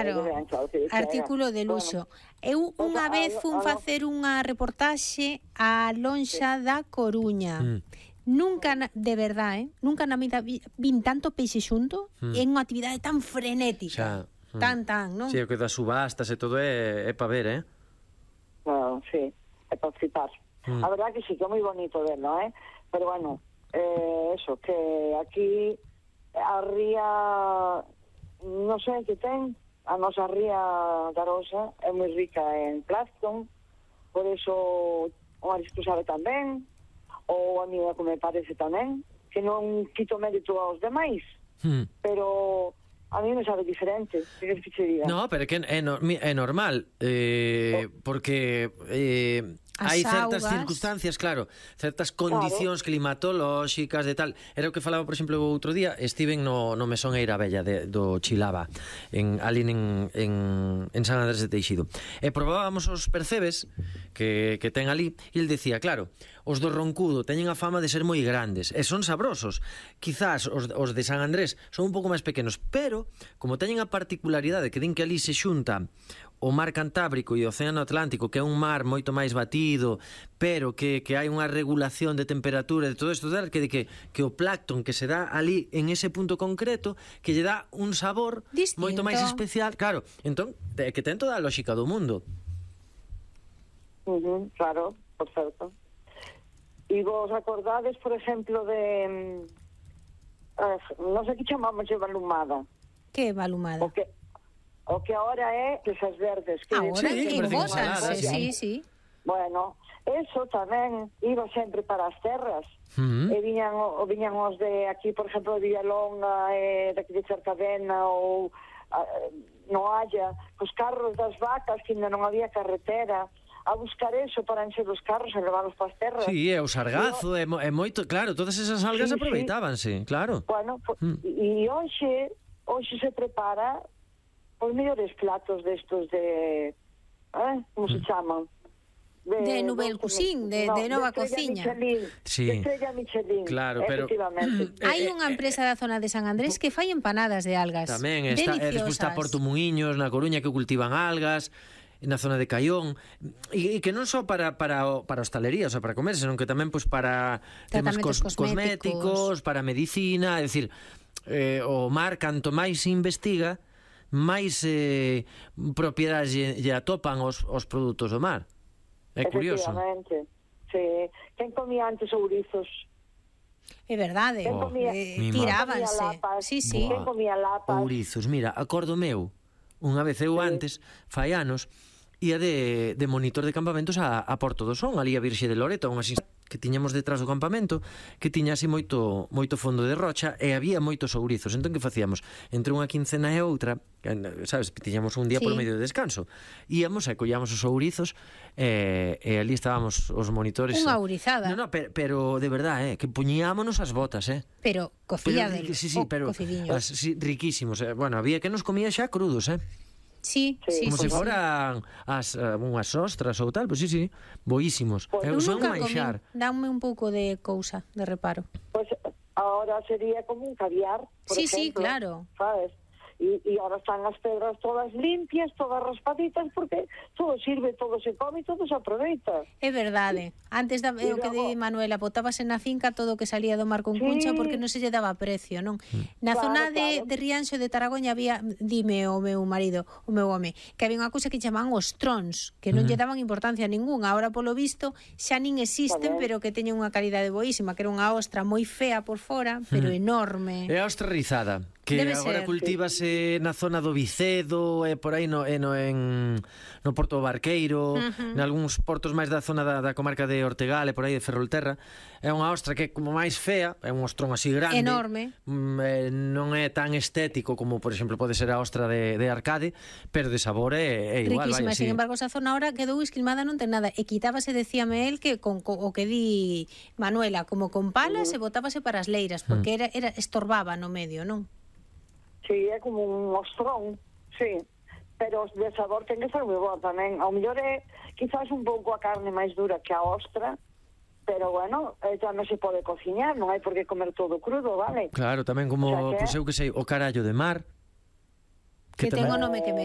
Claro, artículo de luxo. Eu unha vez fun facer unha reportaxe á lonxa da Coruña. Nunca, de verdade, nunca na vida vin tanto peixe xunto en unha actividade tan frenética. Tan, non? Si, o que das subastas e todo é para ver, Claro, sí, é para flipar. A verdad que sí, que é moi bonito verlo, pero bueno, eso, que aquí a ría, non sei que ten, a nosa ría da Arosa é moi rica en plancton, por eso o marisco sabe tamén, ou a mí que me parece tamén, que non quito mérito aos demais, pero a mí me sabe diferente, que queres que che diga? No, pero que é normal, porque hai certas circunstancias, claro, certas condicións climatolóxicas de tal. Era o que falaba, por exemplo, o outro día, estiven no Mesón Eira Bella do Chilaba, ali en San Andrés de Teixido. E probábamos os percebes que ten ali, e el decía, claro, os do Roncudo teñen a fama de ser moi grandes, e son sabrosos. Quizás os de San Andrés son un pouco máis pequenos, pero como teñen a particularidade que din que ali se xunta o mar Cantábrico e o Océano Atlántico, que é un mar moito máis batido, pero que hai unha regulación de temperatura de todo isto, que o plancton que se dá ali en ese punto concreto, que lle dá un sabor distinto, moito máis especial. Claro, entón, que ten toda a lógica do mundo. Claro, por certo. E vos acordades, por exemplo, de non sei que chamamos de balumada. Que balumada? O que ahora é esas verdes. Ahora embótanse, sí. Bueno, eso tamén iba sempre para as terras. E viñan os de aquí, por exemplo, de Villalonga, de aquí de Cercadena, ou no Haya, os carros das vacas, que ainda non había carretera, a buscar eso para encher os carros e levarlos para as terras. Sí, é o sargazo, é moito, claro, todas esas algas aproveitábanse, claro. Bueno, e hoxe se prepara os mellores platos destos de... como se chaman? De Nouvelle Cuisine, de Nova Cociña. De Estrella Michelin, claro, pero hai unha empresa da zona de San Andrés que fai empanadas de algas. Tamén está, despois está Porto Muiños na Coruña, que cultivan algas, na zona de Caión, e que non só para hostalería, o sea, para comer, senón que tamén pois para temas cosméticos, para medicina, é dicir, o mar canto máis se investiga, máis propiedades lle atopan os produtos do mar. É curioso. Efectivamente, sí. Quen comía antes ourizos? É verdade, tirábanse. Sí. Quen comía lapas? Ourizos, mira, acordo meu, unha vez eu antes, fai anos, ia de monitor de campamentos a Porto do Son, ali a Virxe de Loreto, unhas que tiñamos detrás do campamento, que tiña así moito fondo de rocha, e había moitos ourizos. Entón, que facíamos? Entre unha quincena e outra, sabes, tiñamos un día polo medio de descanso, íamos e collíamos os ourizos, e ali estábamos os monitores. Unha ourizada. No, pero de verdade, que puñíámonos as botas, Pero cociados. Sí, pero riquísimos. Bueno, había que nos comía xa crudos, Sí, como se foran unhas ostras ou tal, pois sí, boísimos. Eu nunca comí, dame un pouco de cousa, de reparo. Pois ahora sería como un caviar, por ejemplo. Sí, claro. ¿Sabes? Y ahora están as pedras todas limpias, todas raspaditas, porque todo sirve, todo se come, todo se aproveita. É verdade. Antes o que di Manuela, botábase na finca todo o que salía do mar con cuncha porque non se lle daba precio, non? Na zona de Rianxo de Taragoña había, dime o meu marido, o meu home, que había unha cousa que chamaban os trons, que non lle daban importancia ninguna. Ahora, polo visto, xa nin existen, pero que teñen unha calidade boísima, que era unha ostra moi fea por fora, pero enorme. É a ostra rizada, que agora cultívase na zona do Vicedo, e por aí no Porto Barqueiro, nalgúns portos máis da zona da comarca de Ortegal e por aí de Ferrolterra. É unha ostra que é como máis fea, é un ostrón así grande, enorme, non é tan estético como, por exemplo, pode ser a ostra de Arcade, pero de sabor é igual. Riquísima, sin embargo, esa zona ahora quedou esquilmada, non ten nada, e quitábase, decíame el, que con o que di Manuela, como con palas, e botábase para as leiras, porque estorbaba no medio, non? Sí, é como un ostrón, sí, pero de sabor ten que ser moi bo tamén. Ao mellor é quizás un pouco a carne máis dura que a ostra, pero bueno, ya non se pode cociñar, non hai por que comer todo crudo, vale? Claro, tamén como, pois eu que sei, o carallo de mar, que ten o nome que merece.